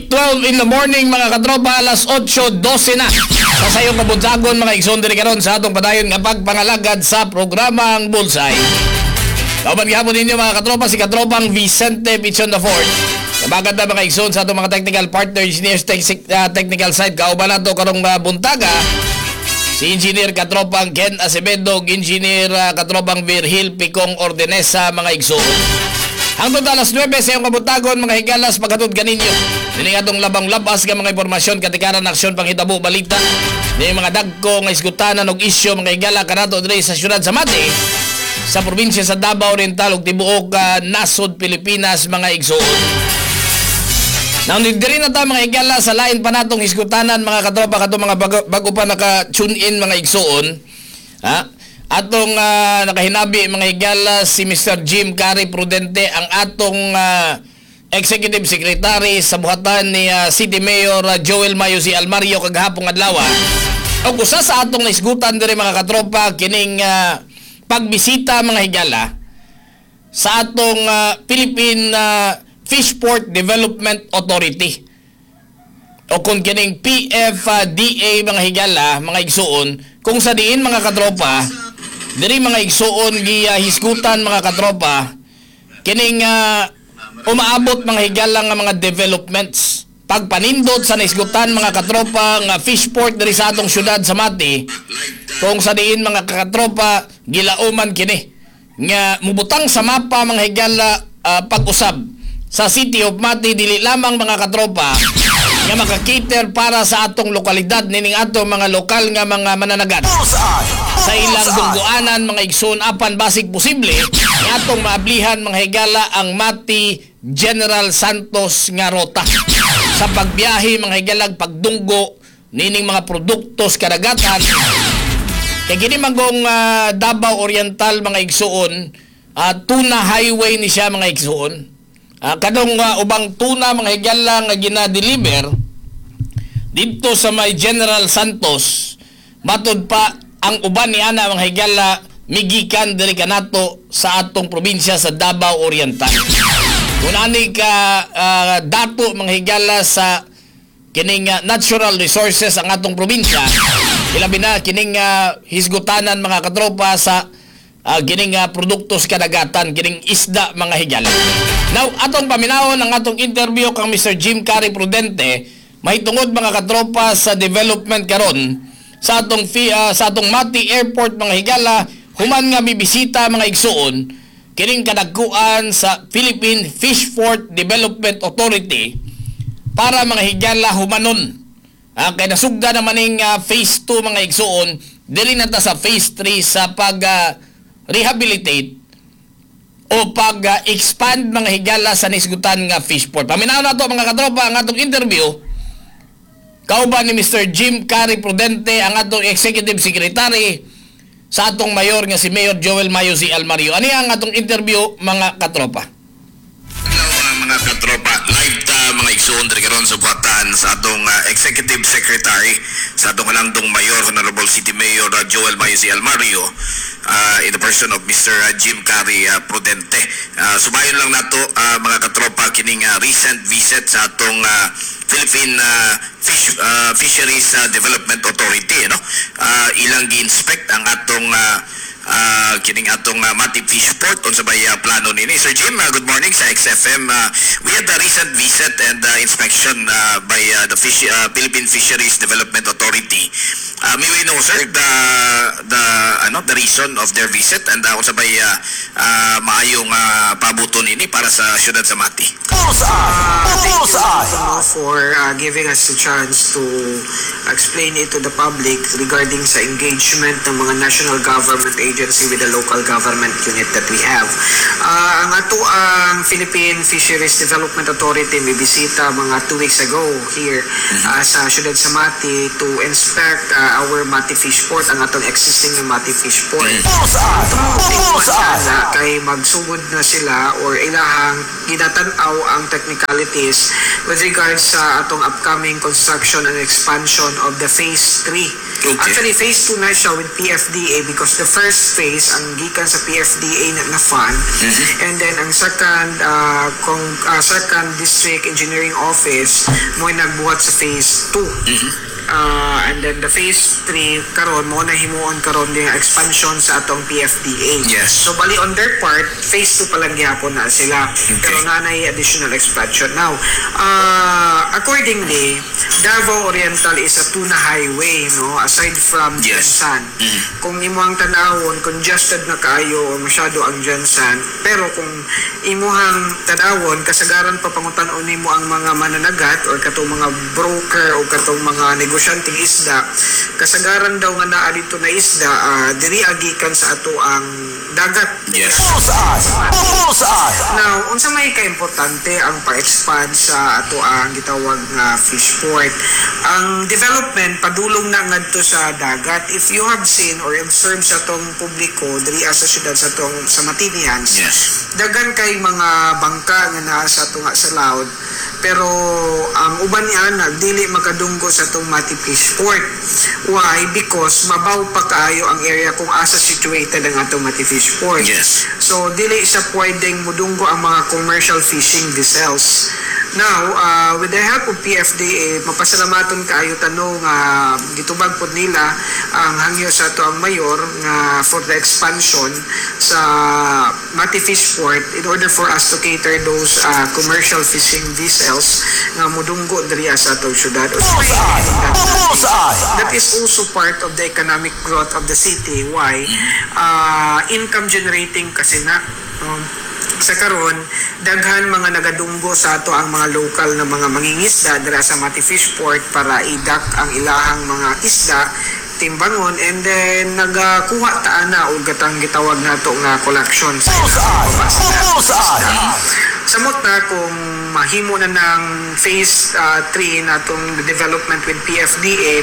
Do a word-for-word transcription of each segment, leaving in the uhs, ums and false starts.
eight twelve in the morning, mga katropa, alas otso dose na. Sa sayong kabuntagon, mga igsoon, diri karon sa atong padayon nga pagpangalagad sa programang Bullseye. Kauban gihapon ninyo, mga katropa, si katropang Vicente Pichon the Fourth. Maganda mga igsoon sa atong mga technical partner, engineers, tech, uh, technical side. Kauban nato karong uh, buntaga si Engineer Katropang Ken Acevedo, Engineer uh, Katropang Virgil Picong Ordenesa, mga igsoon. Hangtod alas nuwebe sa iyong kabuntagon, mga higalas, paghatod kaninyo dini atong labang labas nga mga impormasyon, katikaran, aksyon, panghitabo, balita. Ni mga dagko nga isgutanan og isyu, mga higala, kanato diri sa syudad sa Mati, sa probinsya sa Davao Oriental ug tibuok uh, nasod Pilipinas, mga igsoon. Now, diri na ta, mga higala, sa lain pa natong hisgutanan, mga katropa, katong mga bago, bago pa naka-tune in, mga igsoon. Ha? Atong ah, nakahinabi, mga higala, si Mister Jim Cary Prudente, ang atong ah, Executive Secretary sa buhatan ni ah, City Mayor ah, Joel Mayo C. Almario kagahapong adlaw. Og usa sa atong naisgutan diri, mga katropa, kining ah, pagbisita, mga higala, sa atong ah, Philippine ah, Fishport Development Authority o kung kining P F D A, mga higala, mga igsuon, kung sa diin, mga katropa, diri, mga igsuon, gihisgutan, mga katropa, kining ah, umaabot, mga higala, nga mga developments pagpanindot sa naisgutan, mga katropa, nga fishport diri sa atong syudad sa Mati, kung sa diin, mga katropa, gilauman kini nga mubutang sa mapa, mga higala, ah, pag-usab sa City of Mati, dili lamang, mga katropa, nga maka-cater para sa atong lokalidad nining atong mga lokal nga mga mananagat sa ilang dungguanan, mga igsoon, apan basig posible nga atong maablihan, mga higala, ang Mati General Santos nga ruta sa pagbiyahe, mga higalag pagdunggo nining mga produktos kadagatan, kay kini manggong ah, Davao Oriental, mga igsuon, ah, tuna highway ni siya, mga igsuon. Ah, kadong ah, ubang tuna, mga higala, nga gina-deliver dito sa may General Santos, matod pa ang uban ni ana, mga higala, migikan diri kanato sa atong probinsya sa Davao Oriental. Kung ani ka ah, dato, mga higala, sa kining ah, natural resources ang atong probinsya, ilabi na kining ah, hisgutanan, mga katropa, sa uh, kining ah, produktos kadagatan, kining isda, mga higala. Now, atong paminawon ang atong interview kang Mister Jim Cary Prudente mahitungod, mga katropa, sa development karon sa atong fi, ah, sa atong Mati Airport, mga higala, human nga mibisita, mga igsuon, kining kadagkuan sa Philippine Fishport Development Authority para, mga higala, humanon. Ah, kay nasugda naman ning ah, phase two, mga igsuon, dili na ta sa phase three sa pag ah, rehabilitate o pag ah, expand, mga higala, sa nisgutan nga fishport. Paminaw na to, mga katropa, ang atong interview kauban ni Mister Jim Cary Prudente, ang atong Executive Secretary sa atong mayor nga si Mayor Joel Mayo C. Almario. Ani ang atong interview, mga katropa? Hello mga mga katropa, live ta, mga igsuon, diri karon sa buhatan sa atong ah, Executive Secretary sa atong halangdong Mayor, Honorable City Mayor ah, Joel Mayo C. Almario, ah, in the person of Mister Jim Cary ah, Prudente. Uh, subayon lang nato, ah, mga katropa, kining ah, recent visit sa atong ah, Philippine ah, Fish ah, Fisheries ah, Development Authority, no? Ah, ilang gi-inspect ang atong ah, ah, kining atong uh, Mati Fishport, unsa bay uh, plano nini. Sir Jim, uh, good morning sa X F M. Uh, we had a recent visit and uh, inspection uh, by uh, the Fish, uh, Philippine Fisheries Development Authority. Uh, may we know, sir, the the ano the reason of their visit and uh, unsa bay uh, uh, maayong uh, pabuto nini para sa siyudad sa Mati? Uh, thank you ano, for uh, giving us the chance to explain it to the public regarding sa engagement ng mga national government agency with the local government unit that we have. Uh, ang ato ang Philippine Fisheries Development Authority may bisita mga two weeks ago here uh, sa Ciudad sa Mati to inspect uh, our Mati Fish Port, ang atong existing na Mati Fish Port. Sana kay magsugod na sila or ilahang ginatan-aw ang technicalities with regards sa atong upcoming construction and expansion of the phase three. Okay. Actually, phase two na siya with P F D A because the first phase ang gikan sa P F D A na, na fund and then ang second uh, kung uh, second district engineering office mo nagbuhat sa phase two. Uh, and then the phase three karon mo na himuon karon din ang expansion sa atong P F D A. Yes. So bali on their part, phase two pa lang gihapon na sila. Pero nanay additional expansion. Now, uh, accordingly, Davao Oriental is a tuna highway, no? Aside from Yes. GenSan. Kung imuhang tanawon, congested na kaayo o masyado ang GenSan. Pero kung imuhang tanawon, kasagaran pa pangutan-on nimo ang mga mananagat or katong mga broker o katong mga negosyanteng isda, kasagaran daw nga naa dito na isda, ah, diri agikan sa ato ang dagat. Yes. Bullseye! Bullseye! Now, unsa may kaimportante ang pa-expand sa ato ang gitawag nga fish port? Ang development padulong na ngadto sa dagat. If you have seen or observed sa atong publiko diri sa syudad, sa atong sa Matinians, Yes. daghan kay mga bangka nga naa sa ato nga sa Loud, pero ang uban ni ana dili makadunggo sa atong Mati Fish Port. Why? Because mabaw pa kaayo ang area kung asa situated ang atong Mati Fish Port. Yes. So dili siya pwedeng mudunggo ang mga commercial fishing vessels. Now, uh, with the help of P F D A, mapasalamaton kaayo tanong nga gitubag pod nila ang hangyo sa ato ang mayor nga for the expansion sa Mati Fish Port in order for us to cater those uh, commercial fishing vessels nga mudunggo diri sa atong syudad. Bullseye! Bullseye! That is also part of the economic growth of the city. Why? Uh, income generating kasi na. Um, sa karon daghan mga nagadunggo sa ato ang mga local na mga mangingisda dira sa Mati Fish Port para idak ang ilahang mga isda, timbangon, and then nagakuha ta ana og gatang gitawag nato nga collection sa Bullseye! ilahang Bullseye! Samot na kung mahimo na ng phase three na atong development with P F D A,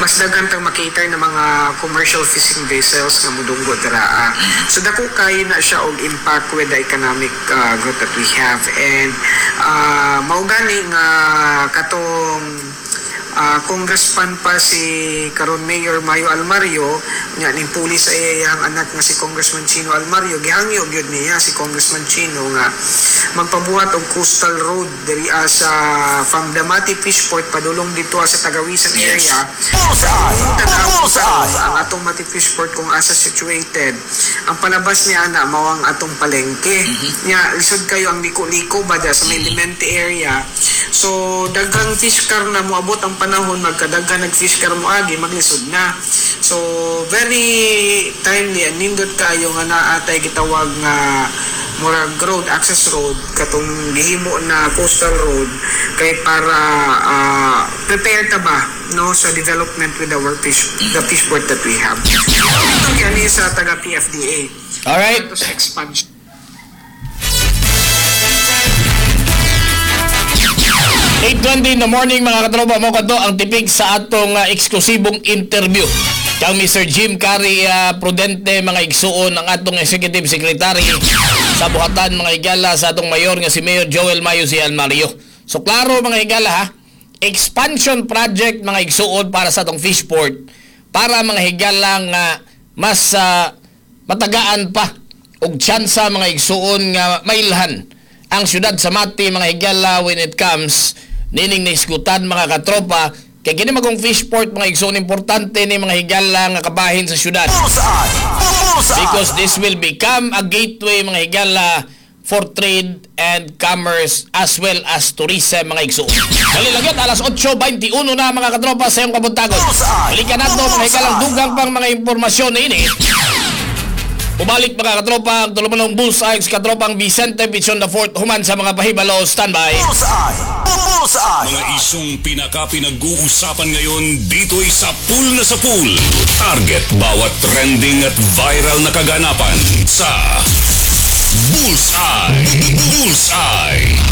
mas daghan tang makater ng mga commercial fishing vessels nga mudunggo dira. Ah. So dako kay na siya og impact with the economic uh, growth that we have and uh, mao gani nga katong uh, congressman pa si karon Mayor Mayo Almario nga ning puli sa iyang anak nga si Congressman Chino Almario, gihangyo gyud niya si Congressman Chino nga magpabuhat og coastal road diri ah, sa from the Mati Fish Port padulong dito sa Tagawisan Yes. area. Bullseye! Tanaw Bullseye! ang atong Mati Fish Port kung asa situated, ang palabas niya ana mao ang atong palengke nya. Lisod kayo ang liko-liko ba da sa may Lemente area. So daghang fish car na moabot ang panahon, magkadaghan nag fish car moagi, maglisod na. So very timely and nindot kayo nga naatay gitawag nga murag road, access road, katong gihimo na coastal road kay para ah, prepare ta ba, no, sa development with our fish the fish port that we have. Ito kani sa taga P F D A. Alright. Ito sa expansion. eight twenty in the morning, mga katropa, mo kadto ang tipig sa atong uh, eksklusibong interview kang Mister Jim Cary uh, Prudente, mga igsuon, ang atong Executive Secretary sa buhatan, mga higala, sa atong mayor nga si Mayor Joel Mayo si Almario. So klaro, mga higala, ha, expansion project, mga igsuon, para sa atong fish port para, mga higala, nga mas uh, matagaan pa og tsansa, mga igsuon, nga mailhan ang syudad sa Mati, mga higala, when it comes nining naisgutan, mga katropa, kay kini magong fish port, mga igsuon, importante ni, mga higala, nga kabahin sa syudad Bullseye! Bullseye! because this will become a gateway, mga higala, for trade and commerce as well as tourism, mga igsuon. Dali lang yun, alas otso twenty-one na, mga katropa, sa iyong kabuntagon. Balikan nato, mga higalang, dugang pang mga impormasyon na ini. Bumalik, mga katropa, ang tulumanong Bullseye sa katropang Vicente Pichon the Fourth human sa mga pahibalo. Standby. Bullseye! Bullseye! Mga isyong pinaka-pinag-uusapan ngayon, dito'y sa pool na sa pool. Target bawat trending at viral na kaganapan sa Bullseye! Bullseye!